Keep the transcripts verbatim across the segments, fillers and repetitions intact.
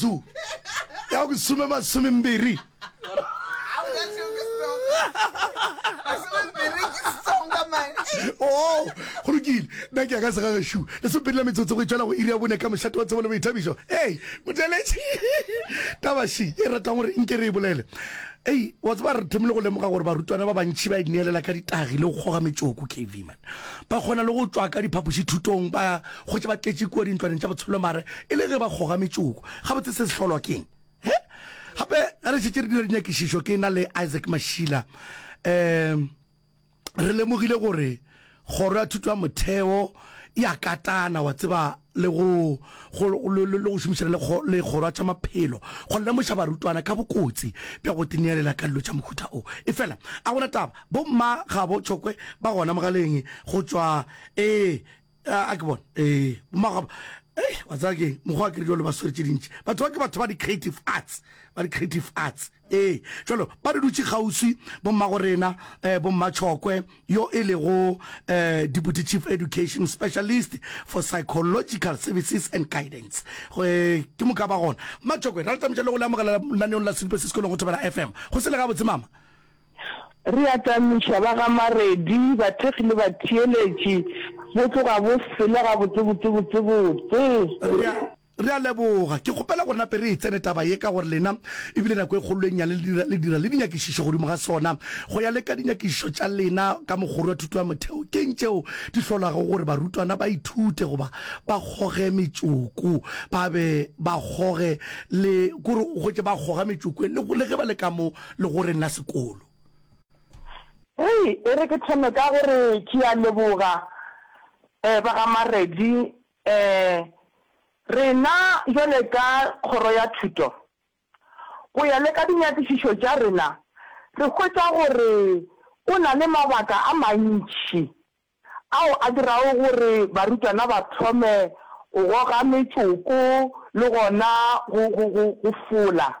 metsotso ya go some masomembiri. Oh, go lokile. Nna ke ya ka segagešo. Lesomepedi la metsotso go e tšwela go iri ya bone ka mošate wa tsebo le boithabišo. Ei, motheeletši. Taba še e ratang gore nke re e bolele. Ei, wa tseba re thomile go lemoga gore barutwana ba bantši ba ineelela ka ditagi le go kgoga metšoko, K V man. Ba kgona le go tšwa ka diphapošithutong ba hwetša ba tletše kua dintlwaneng tša botshwelomare e le ge ba kgoga metšoko. Gabotse se se hlolwa ke'ng? He? Gape ge re šetše re dira dinyakišišo ke na le Isaac Mashila, um re lemogile gore kgoro ya thuto ya motheo e a katana, wa tseba, le go, go, le, le go šomišana le, le kgoro ya tša maphelo go lemoša barutwana ka bokotsi bja go tineelela ka dilo tša mohuta o. Efela a gona taba, bomma gabo Tšhokwe ba gona mogaleng go tšwa, ee, a, a ke bone, ee, bomma gabo, ei, wa tseba keng, mokgwa wa ke re jalo ba swere tše dintši. Batho ba ke batho ba di-creative arts, ba di-creative arts. Ee, bjalo ba re dutše kgauswi, bommagorena, eh, bomma Tšhokwe, yo e lego eh, Deputy Chief Education Specialist for Psychological Services and Guidance. Go, eh, ke moka ba gona. Mma Tšhokwe, ra le tamiša le go le amogela lenaneong la Seripe se Sekolong go Thobela F M. Go sele gabotse, mama? Re a tamiša ba ga Maredi, bathekgi le batheeletši, bo tloga bo sele gabotse botse botse botse. Re a. Re a leboga. Ke kgopela gore nape re e tsene taba ye ka gore lena e bile nako e kgolo e nnyane le dira, le dira le dinyakišišo godimo ga sona. Go ya le ka dinyakišišo tša lena ka mokgoro wa thuto ya motheo, ke'ng tšeo di hlolago gore barutwana ba ithute goba ba kgoge metšoko, ba be ba kgoge le, kore o hwetše ba kgoga metšoko le, le ge ba le ka mo legoreng la sekolo? Hei, e re ke thome ka gore ke a leboga, eh, ba ga Maredi, eh, Rena bjale ka Kgoro ya Thuto, go ya le ka dinyakišišo tša rena, re hwetša gore go na le mabaka a mantši ao a dirago gore barutwana ba thome go goga metšoko le gona go, go, go, go fola.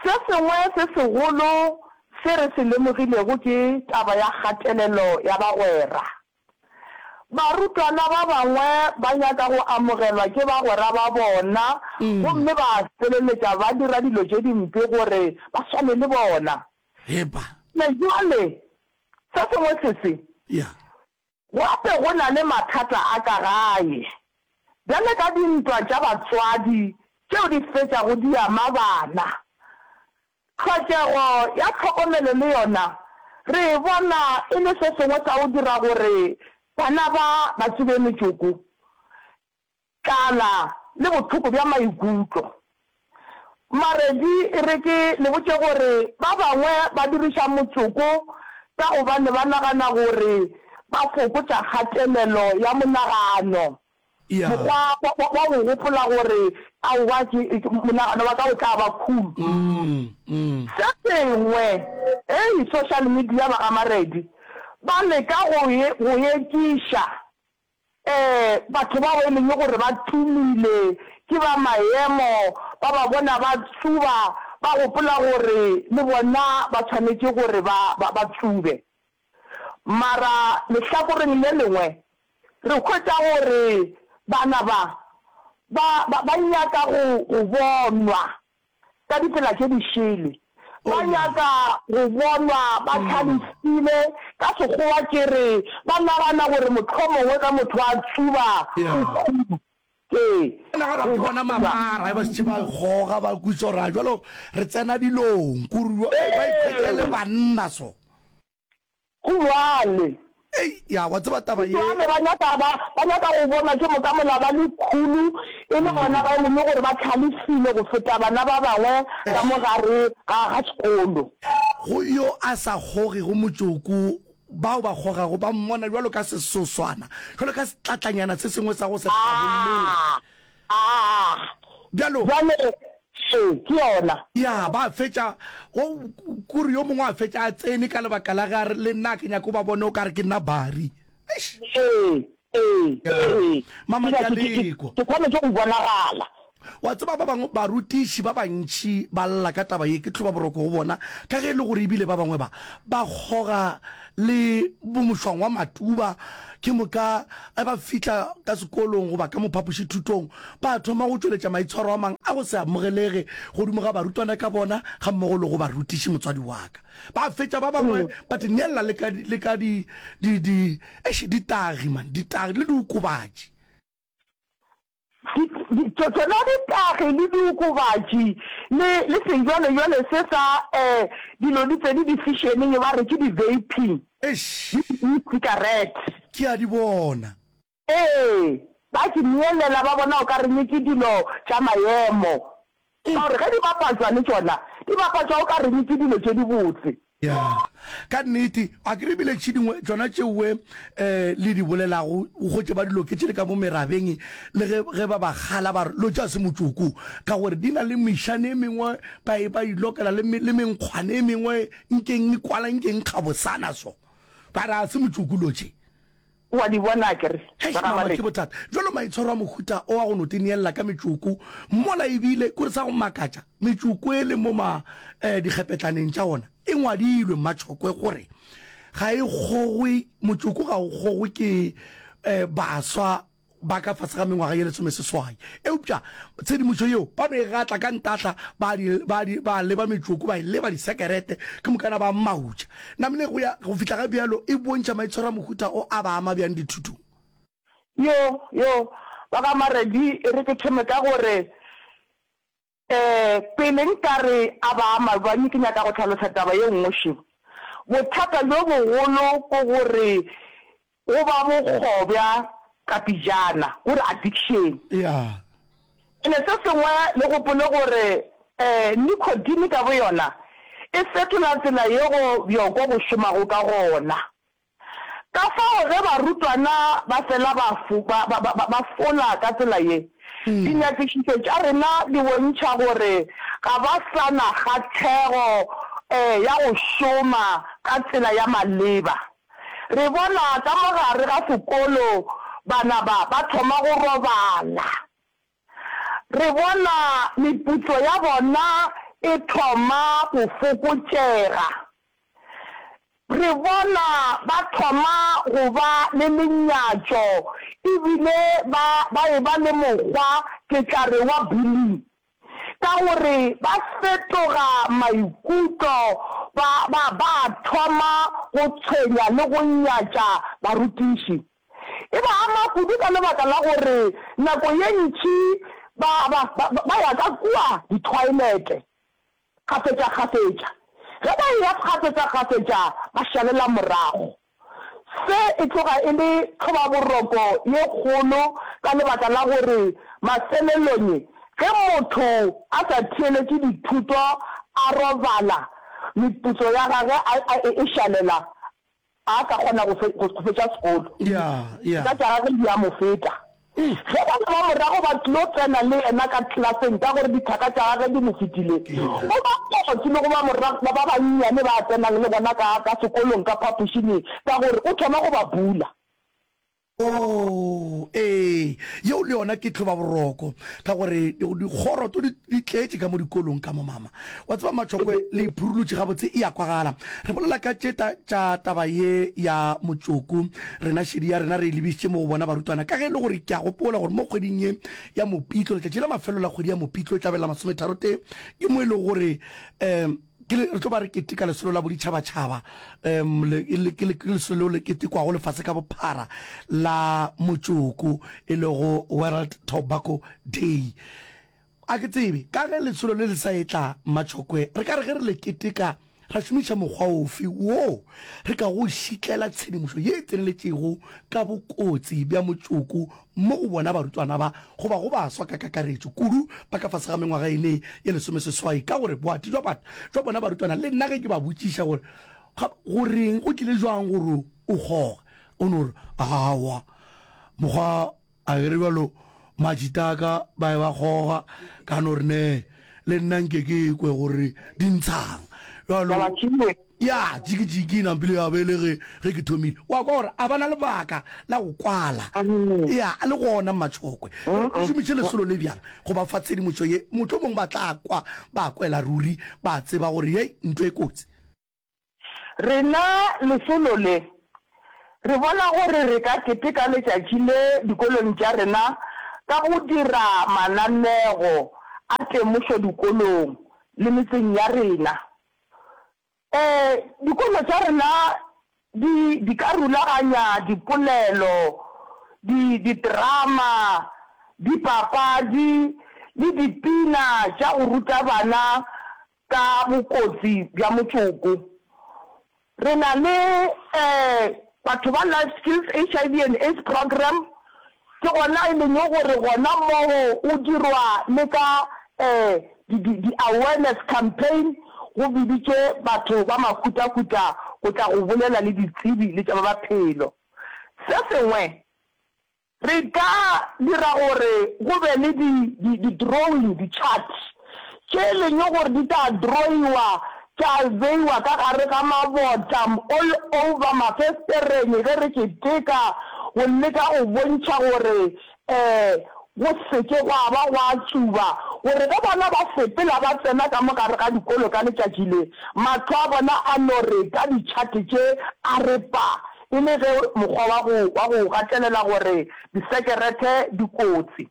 Se sengwe se segolo se re se lemogilego ke taba ya kgatelelo ya bagwera. Barutwana ba bangwe ba nyaka go amogelwa ke bagwera ba bona gomme ba feleletša ba dira dilo tše dimpe gore ba swane le bona. Heba. Me bjale, se sengwe sese, Ya. gape go na le mathata a ka gae, bjale ka dintwa tša batswadi tšeo di fetšago di ama bana. Tlhokego ya tlhokomelo le yona re e bona e le se sengwe sa go dira gore bana ba ba tsube metšoko, tlala le bohloko bja maikutlo. Maredi e re ke le botše gore ba bangwe ba diriša motšoko ka gobane ba nagana gore ba fokotša kgatelelo ya monagano. Ya. Mokgwa wa, wa, wa go gopola gore, Aowa, ke, ke, monagano wa ka o tla ba cool. Mm, mm. Se sengwe, hei, social media ba ga Maredi, ba leka go e, go ekiša, eh, batho bao e leng gore ba tumile, ke ba maemo, ba ba bona ba tsuba, ba gopola gore le bona ba swanetše gore ba, ba, ba tsube. Mara lehlakoreng le lengwe, Re hwetša gore bana ba, ba, ba, ba nyaka go, go bonwa ka ditsela tše di šele. Ba nyaka go bonwa ba hlalefile. Ka Sekgowa ke re, ba nagana gore mohlomongwe ge motho a tsuba, o cool. Ee, Ba nagana go ke bona tsuba. mabara, ba šetše ba goga, ba kwešiša gore a bjalo re tsena dilong, kore ba ikhwetša e le Ee. banna so. Go bjale. Ei, ya, wa tseba taba ye. Bjale ba nyaka, ba, ba nyaka go bonwa ke moka mola ba le khulu, e le gona ba e leng gore ba hlalefile go feta bana ba bangwe ka mo gare ga, ga sekolo. Go yo a sa kgogego motšoko, bao ba kgogago ba mmona bjalo ka sesoswana, bjalo ka setlatlanyana se sengwe sa go se hlabollege. Aa, Aa, Bjalo. bjale, ee, ke yona. Ya, ba fetša, go, kore yo mongwe a fetša a tsene ka lebaka la ge a re, Le nna ke nyaka o ba bone o ka re ke nna Barry. Eish. Ee, ee, Ya, ee. mama, Ke ke a nyaka, ke, ke, lekwa. ke swanetše go bonagala. Wa tseba, ba bangwe barutiši ba bantši ba lla ka taba ye, ke tlhobaboroko go bona, ka ge e le gore ebile ba bangwe ba, ba kgoga le bomošwang wa matuba, ke moka ge ba fihla ka sekolong goba ka mo phapošithutong, ba thoma go tšweletša maitshwaro a mang a go se amogelege godimo ga barutwana ka bona gammogo le go barutiši motswadi wa ka. Ba fetša ba bangwe ba di neella le ka, le ka di, di, di, eish, ditagi man, ditagi le diokobatši. Di, di, tšona ditagi le diokobatši le, le sejwalejwale se sa, eh, dilo di tsene difešeneng ba re ke di-vaping, Eish. le di-e-cigarette. Ke a di bona. Ee, ba di neelela ba bona o ka reng ke dilo tša maemo, ka gore ge di bapatšwa le tšona di bapatšwa o ka reng ke dilo tše dibotse. Ya, ka nnete, a ke re bile tše dingwe tšona tšeoe um le di bolelago, o hwetše ba di loketše le ka mo merabeng, le ge, ge ba ba kgala ba re, Lo tša se motšoko, ka gore di na le mešane e mengwe ba e, ba e lokela le, le menkgwane e mengwe nkeng e kwala nkeng kgabosana so. Ba re, A se motšoko lo tše. O a di bona akere? Hei, mama, ke bothata. Bjalo maitshwaro a mohuta o wa go no tineella ka metšoko mola ebile kore sa go makatša, metšoko e le mo ma eh, dikgepetlaneng tša ona e ngwadilwe Mmatšhokwe gore ga e kgogwe, motšoko ga o kgogwe ke eh, baswa ba ka fase ga mengwaga ye lesomeseswai. Eupša tshedimošo yeo ba no e gatla ka ntahla, ba di, ba di, ba leba metšoko, ba e leba disekerete, ke mokana ba mautša. Namile go ya go fihla ga bjalo e bontšha maitshwaro a mohuta o a ba ama bjang dithutong? Yo, yo, ba ga Maredi, e re ke thome ka gore, Ee, pele nka re a ba ama bjang, ke nyaka go hlalosa taba ye nngwe še. Bothata bjo bogolo ke gore go ba bokgobja ka pejana, gore addiction. Yeah. Ene se sengwe le gopole gore nicotine ka boyona e fetola tsela yego bjoko bo šomago ka gona. Ka fao ge barutwana ba fela ba, ba, ba, ba, ba fola ka tsela ye, dinyakišišo tša rena di bontšha gore ga ba sa na kgahlego ya go šoma ka tsela ya maleba. Re bona ka mo gare ga sekolo bana ba ba thoma go robala. Re bona meputso ya bona e thoma go fokotšega. Re bona ba thoma go ba le lenyatšo e bile ba, ba eba le mokgwa, ke tla re wa bullying, ka gore ba fetoga maikutlo, ba, ba, ba thoma go tshwenya le go nyatša barutiši. E ba ama kudu ka lebaka la gore nako ye ntši ba, ba, ba, ba ya ka kua dithoilete kgafetšakgafetša. Ge ba eya kgafetšakgafetša ba šalela morago. Se e tloga e le tlhobaboroko ye kgolo ka lebaka la gore mafelelong ge motho a sa theeletše dithuto a robala, meputso ya gage a, a, e šalela A sa kgona go fe, go fetša sekolo. Ya, ya. Ka tša gagwe di a mo feta. Ge bana ba morago ba tlilo tsena le yena ka klaseng ka gore dithaka tša gagwe di mo fetile, o ba kotsi le go ba morago ba ba bannyane ba a tsenang le bona ka, ka sekolong ka phapošing ka gore o thoma go ba bula. Oo, ee, yeo le yona ke tlhobaboroko, ka gore dikgoro to di, di tletše ka mo dikolong ka mo, mama. Wa tseba, Matšhokwe, le iphurulotše gabotse, e a kwagala. Re bolela ka tše ta, tša taba ye ya motšoko. Rena šedi ya rena re e lebišitše mo go bona barutwana, ka ge e le gore ke a gopola gore mo kgweding ye ya Mopitlo, letšatši la mafelelo la kgwedi ya Mopitlo e tla be la masometharotee, ke mo e lego gore, um, Ke le, re tlo ba re keteka lesolo la boditšhabatšhaba, um, le, le, ke, ke lesolo leo le ketekwago lefase ka bophara la motšoko, e lego World Tobacco Day. A ke tsebe, ka ge lesolo le le sa etla Mmatšhokwe, re ka re ge re le keteka ra šomiša mokgwa ofe woo re ka go šitlela tshedimošo ye e tseneletšego ka bokotsi bja motšoko mo go bona barutwana ba goba go baswa ka kakaretšo, kudu ba ka fase ga mengwaga ene ye lesomeseswai, ka gore boati jwa batho jwa bona barutwana, le nna ge ke ba botšiša gore ga, go reng, go tlile jwang gore o kgoge, o no re, Aowa, mokgwa, a ke re bjalo, matšita a ka ba be ba kgoga, ka no re, Nee, le nna nke ke kwe gore di ntshang. Bjalo. Ya, jiki-jiki e nampile ya be e le ge, ge ke thomile. Wa kwa gore a ba na lebaka la go kwala. Ya, le gona Mmatšhokwe. Re šomiše lesolo le bjang go ba fa tshedimošo ye, mohlomong ba tla kwa, ba kwela ruri, ba tseba gore hei, ntho e kotsi. Rena lesolo le, re bona gore re ka keteka letšatši le dikolong tša rena ka go dira mananego a temošo dikolong le metseng ya rena. Ee, dikolo tša rena di, di ka rulaganya dipolelo, di, diterama, dipapadi le dipina tša go ruta bana ka bokotsi bja motšoko. Re na le batho ba Life Skills H I V and AIDS Programme, ke gona e leng gore gona moo go dirwa le ka di-awareness campaign, go biditšwe batho ba mahutahuta go tla go bolela le ditsebi le tša ba maphelo. Se sengwe, Re ka dira gore go be le di, di, di-drawing, di-chart, tše e leng gore di tla drawiwa tša beiwa ka gare ga mabota all over mafestereng ge re keteka go leka go bontšha gore um go se ke gwa ba gwa tsuba, gore ge bana ba sepela ba tsena ka mo gare ga dikolo ka letšatši le, mahlo a bona a no re ka di-chart tše a re pa. E le ge mokgwa wa go, wa go gatelela gore disekerete di kotsi.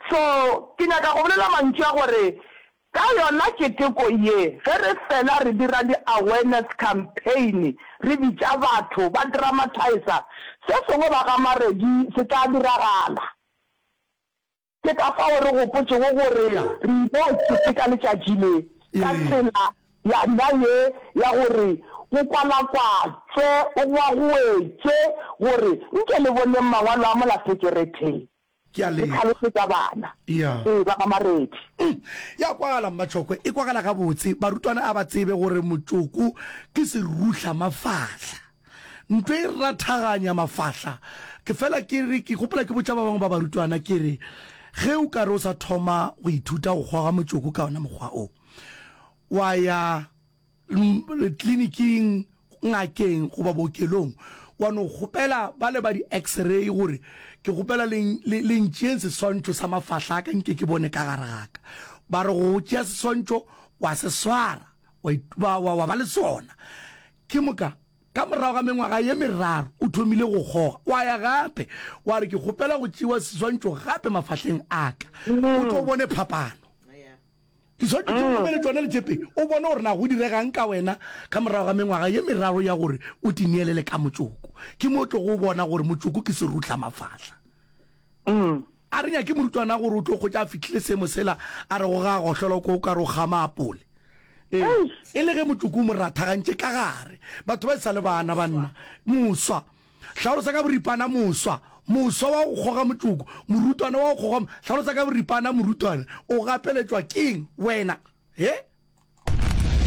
So, ke nyaka go bolela mantšu a gore ka yona keteko ye, ge re fela re dira di-awareness campaign, re bitša batho, ba dramatiser, se sengwe ba ga Maredi se tla diragala. Ke ka fao re gopotšego gore re ile keteka letšatši le ka tsela yana ye ya gore go kwalakwatšwe, go gwagoetšwe gore nke le boneng mangwalo a mola sekeretheng. Ke a Re leboga. hlalosetša bana. Ya. Ee, ba ga Maredi. Umm, ya kwagala Mmatšhokwe, e kwagala gabotse. Barutwana a ba tsebe gore motšoko ke seruhla mafahla. Ntlo e rathaganya mafahla. Ke fela ke re, ke gopola ke botša ba bangwe ba barutwana ke re, ge o ka re o sa thoma go ithuta go kgoga motšoko ka ona mokgwa o, wa ya tleliniking, ngakeng goba bookelong, wa no kgopela bale ba di-X-ray gore ke kgopela le, le, le ntšeeng seswantšho sa mafahla a ka nke ke bone ka gare ga ka. Ba re go tšea seswantšho, wa se swara, wa, wa, wa, wa ba le sona. Ke moka, ka morago ga mengwaga ye meraro, o thomile go kgoga. Wa ya gape, wa re, Ke kgopela go tšewa seswantšho gape mafahleng a ka. O tlo bone phapano. Diswantšho tše o romele tšona le tše pedi, o bone gore na go direga'ng ka wena ka morago ga mengwaga ye meraro ya gore o di neelele ka motšoko. Ke mo o tlogo bona gore motšoko ke serutlamafahla. A re nyake morutwana gore o tlo hwetša a fihlile seemo sela a rego ga a gohlola o kwa o ka re o kgama apole. Ee, e le ge motšoko o mo rathagantše ka gare. Batho ba e sa le bana, banna. Moswa. Hlalosa ka boripana moswa. Moswa wa go kgoga motšoko. Morutwana wa go kgoga. Hlalosa ka boripana morutwana. O gapeletšwa keng wena? He?